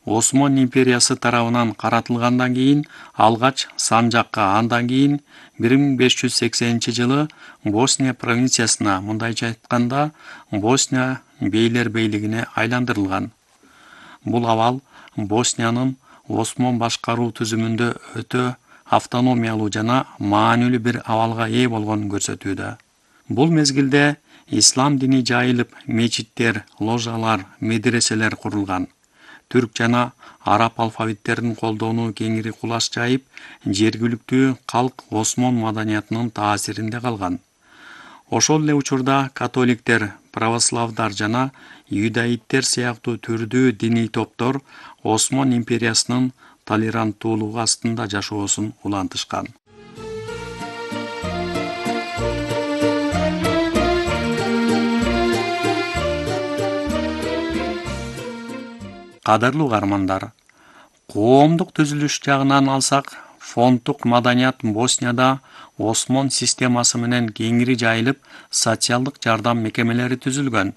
Осмон империясы тарабынан каратылгандан кийин алгач Санжакка, андан кийин 1580-жылы Босния провинциясына, мындайча айтканда Босния бейлер бейлигине айландырылган. Бул абал Босниянын Осмон башкаруу түзүмүндө өтө автономиялуу жана маанилүү бир абалга ээ болгонун көрсөтүүдө. Бул мезгилде ислам дини жайылып, мечиттер, ложалар, медреселер курулган. Түрк жана араб алфавиттерин колдонуу кеңири кулаш жайып, жергиликтүү калк Осмон маданиятынын таасиринде калган. Ошол эле учурда католиктер, православдар жана юдаиттер сыяктуу түрдүү диний топтор Осмон империясынын толеранттуулугу астында жашоосун улантышкан. Кадырлуу угармандар, коомдук түзүлүш жагынан алсак, фонддук маданият Боснияда Осмон системасы менен кеңири жайылып, социалдык жардам мекемелери түзүлгөн.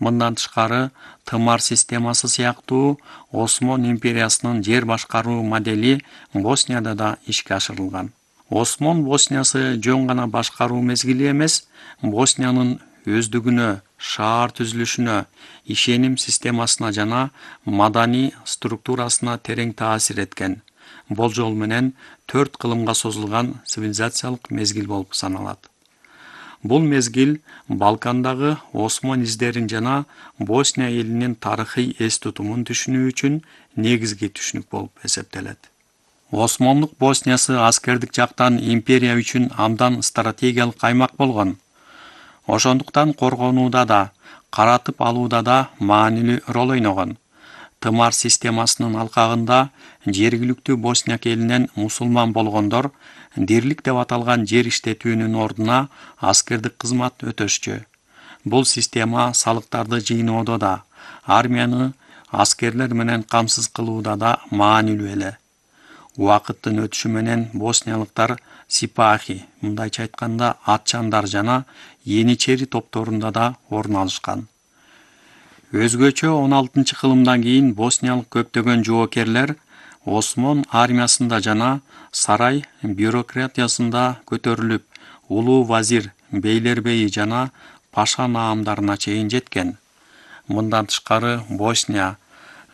Мындан тышкары, тымар системасы сыяктуу Осмон империясынын жер башкаруу модели Боснияда да ишке ашырылган. Осмон Босниясы жөн гана башкаруу мезгили эмес, Босниянын өздүгүнө, шаар түзүлүшүнө, ишеним системасына жана маданий структурасына терең таасир эткен. Болжол менен 4 кылымга созулган цивилизациялык мезгил болуп саналат. Бул мезгил Балкандагы Осмон издерин жана Босния элинин тарыхый эс тутумун түшүнүү үчүн негизги түшүнүк болуп эсептелет. Осмондук Босниясы аскердик жактан империя үчүн абдан стратегиялык аймак болгон. Ошондуктан коргонууда да, каратып алууда да маанилүү роль ойногон. Тымар системасынын алкагында жергиликтүү Босняк элинен мусулман болгондор дирлик деп аталган жер иштетүүнүн ордуна аскердик кызмат өтөшчү. Бул система салыктарды жыйноодо да, армияны аскерлер менен камсыз кылууда да маанилүү эле. Убакыттын өтүшү менен босниялыктар сипахи, мындайча айтканда атчандар жана еничери топторунда да орун алышкан. Өзгөчө 16-кылымдан кийин босниялык көптөгөн жоокерлер Осмон армиясында жана сарай бюрократиясында көтөрүлүп, улуу вазир, бейлербейи жана паша наамдарына чейин жеткен. Мындан тышкары Босния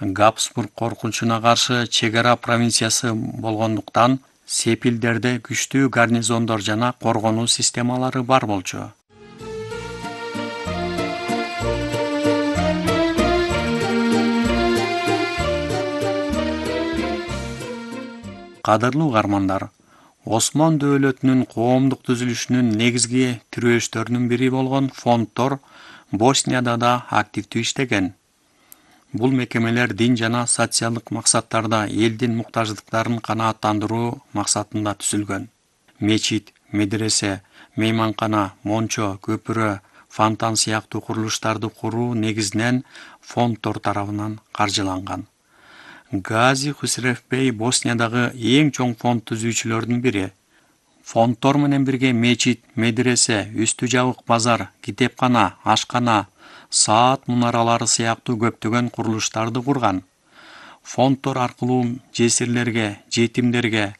Габсбург коркунучуна каршы чек ара провинциясы болгондуктан сепилдерде күчтүү гарнизондор жана коргонуу системалары бар болчу. Кадырлуу угармандар, Осмон дөөлөтүнүн коомдук түзүлүшүнүн негизги тирөөчтөрүнүн бири болгон фонддор Боснияда да активдүү иштеген. Бул мекемелер дин жана социалдык максаттарда элдин муктаждыктарын канааттандыруу максатында түзүлгөн. Мечит, медресе, мейманкана, мончо, көпүрө, фонтан сыяктуу курулуштарды куруу негизинен фонддор тарабынан каржыланган. Гази Хусревбей Босниядагы эң чоң фонд түзүүчүлөрдүн бири. Фонддор менен бирге мечит, медресе, үстү жабык базар, китепкана, ашкана, саат мунаралары сыяктуу көптөгөн курулуштарды курган. Фонддор аркылуу жесирлерге, жетимдерге,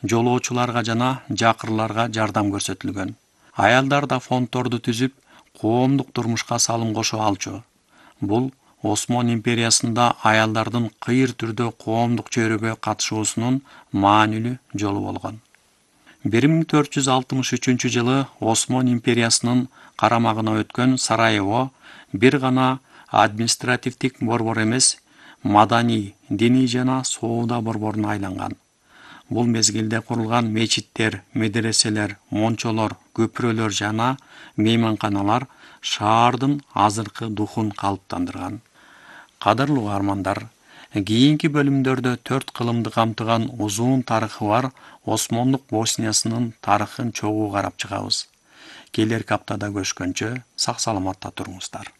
жолоочуларга жана жакырларга жардам көрсөтүлгөн. Аялдар да фонддорду түзүп, коомдук турмушка салым кошо алчу. Бул Осмон империясында аялдардын кыйыр түрдө коомдук чөйрөгө катышуусунун маанилүү жолу болгон. 1463-жылы Осмон империясынын карамагына өткөн Сараево бир гана административдик борбор эмес, маданий, диний жана соода борборуна айланган. Бул мезгилде курулган мечиттер, медреселер, мончолор, көпүрөлөр жана мейманканалар шаардын азыркы духун калыптандырган. Кадырлуу угармандар, кийинки бөлүмдөрдө 4 кылымды камтыган узун тарыхы бар Осмондук Босниясынын тарыхын чогуу карап чыгабыз. Келерки аптада көрүшкөнчө сак саламатта туруңуздар.